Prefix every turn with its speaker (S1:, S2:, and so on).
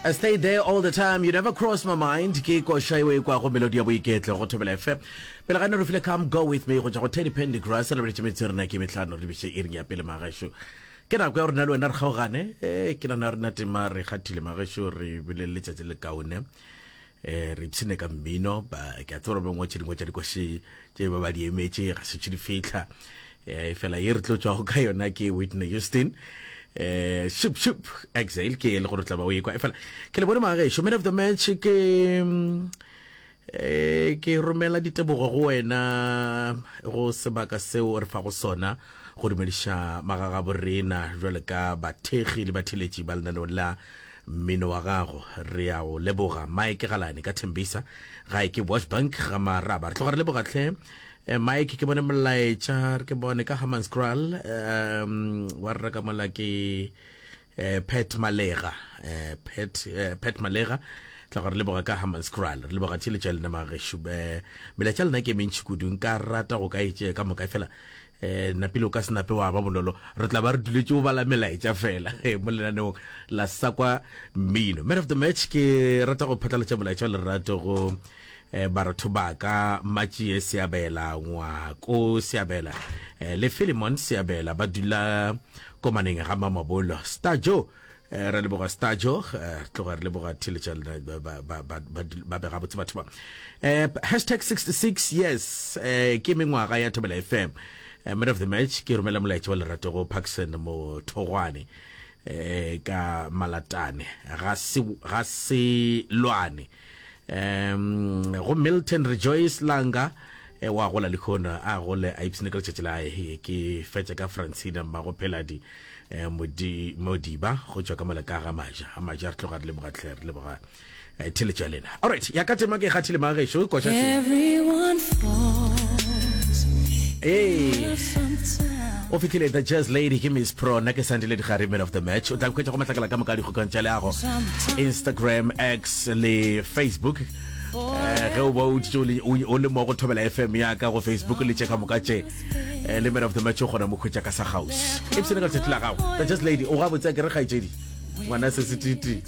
S1: I stay there all the time you never cross my mind ke koša eo e kwago melodi ya boiketlo go thobela fm pele ga ne re file come go with me go tšwa go teddy pendygrass re beletše metse rena ke metlhano re biše iring ya pele magešo ke nako ya rena le wena re kgaogane e ke nana rena tema re kgathile magešo re bile le letšatši le kaone eh re ipshine ka mmino ba ke a tseba gore bangwe tše dingwe tša dikoši tše ba ba di emetše ga se tše di fihla eh fela ye re tlo tšwago ka yona ke Whitney Houston eh shup shup exhale ke e le gore tla ba o ekwa e fela ke le bone magešo man of the match ke mm, eh ke romela ditebogo go wena go sebaka seo re fago sona go dumediša magagabo rena jwale ka bathekgi le batheletši ba lenaneo la Mmino wa gago re a o leboga. Mike Galane ka Thembisa, gae ke Washbank ga Maraba. Re tloga re leboga hle. Eh, Mike ke bone molaetša, re ke bone ka Hammanskraal, um wa rra ka mola ke eh, Pat Malega, eh, Pat, eh, Pat Malega tla gore leboga ka Hammanskraal. Re leboga theeletšo ya lena magešo. Eh, melaetša lena ke e mentši kudu, nka rata go ka e tšea ka moka fela eh napile o ka se nape wa ba bonolo re tla ba re duletše go bala melaetša fela eh, mo lenaneong la sakwa mmino man of the match ke rata go phatlalatša molaetša wa lerato go eh, baratho ba ka matšie seabela ngwako seabela eh, le filemon seabela ba dula komaneng ga mamabolo star joe Eh, re leboga stajo eh, tloga re leboga theletša lena ba, ba, ba, ba, ba be gabotse batho ba eh, hashtag 66 yes eh, ke mengwaga ya thobela fm eh, man of the match ke romela molaetša wa lerato go parkson mothogwane eh, ka malatane ga se ga se lwane um go milton rejoice langa eh, wa gola lehono a gole a ipsene ka letšatši la eh, ke fetša ka francina mmago pheladi eh, modi modiba go tšwa ka mola ka ga maja ga maja re tloga re leboga tlhe re leboga eh, theletšo ya lena alright ya ka tema ke kgathile magešo koša
S2: Everyone falls.
S1: Hey. o fihlile the jazz lady ke miss pro nna ke sandile digare man of the match o tla nkhwetša go matlakala ka moka a dikgokang tša leago instagram x le facebook Eh, ge o ba o tšo le- o o le mo go thobela fm ya ka go facebook le tše ka moka tše eh, le man of the match o kgona mo khwetša ka sa house e psene ka letšatši la gago the jazz lady o gabotse a ke re kgaetšedi ngwana se se titi.